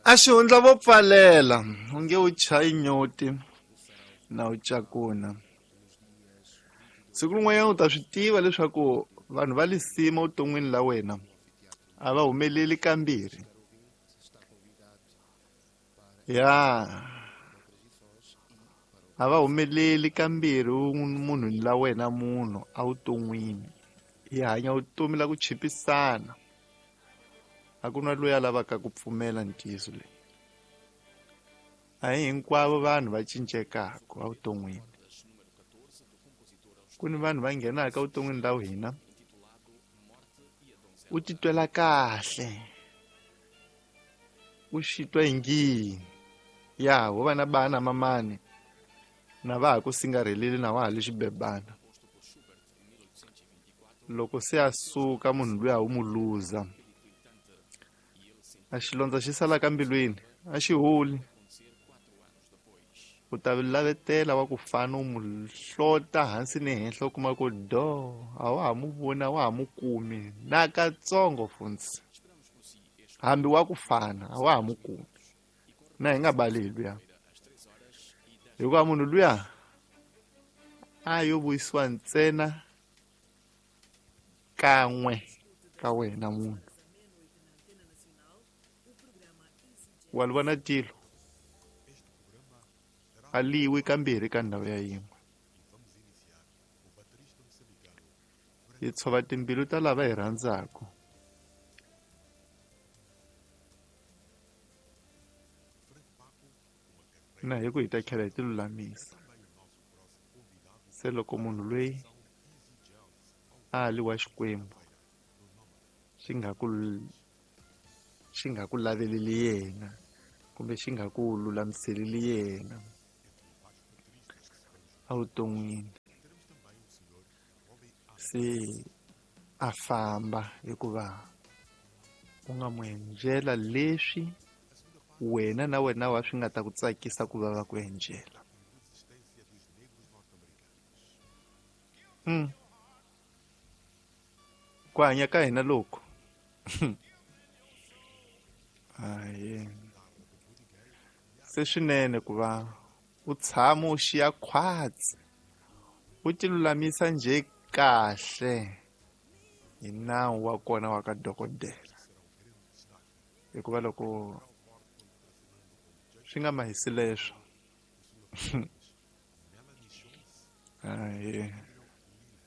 A xihundla vo pfalela u nge u chayi nyoti na u cakuna siku rin'wanyana u ta swi tiva leswaku vanhu va lisima vuton'wini la wena a va humeleli kambirhi ya a va humeleli kambirhi munhwini la wena munhu evuton'wini hi hanya vutomi la ku chipisana a ku na loyi a lavaka ku pfumela ntiyiso leyi a hi hinkwavo vanhu va cincekaka evuton'wini ku ni vanhu va nghenaka evuton'wini la hina u titwela kahle u xi twa ingi ya ho va na bana mamani na va ha ku singarheleli na wa ha le xibebana loko se a suka munhu luya wu mu luza a xilondza xi sala ka mbilwini a xi holi u ta lavetela wa ku fana u mu hlota hansi ni henhla u kuma ku do a wa ha mu voni a wa ha mu kumi nakatsongo funtsi hambi wa ku fana a wa ha mu kumi na hi nga baleli luya hikuva munhu luya a yo vuyisiwa ntsena kan'we ka wena munhu wa li vona tilo a liwi kambirhi ka ndhawu ya yin'we hi tshova timbilu ta lava hi rhandzaka na hi ku hi ta tlhela hi ti lulamisa se loko munhu loyi a li wa Xikwembu xi nga ku xi nga ku laveleli yena kumbe xi nga ku lulamiseleli yena evuton'wini se a famba hikuva u nga n'wi endlela leswi wena na wena wa swi nga ta ku tsakisa ku va va ku endlela ku hanya ka hina loku aye se swinene ku va u tshama u xiya khwatsi u ti lulamisa njhe kahle hi nawu wa kona wa ka dokodela hikuva loko swi nga mahisi leswo aye.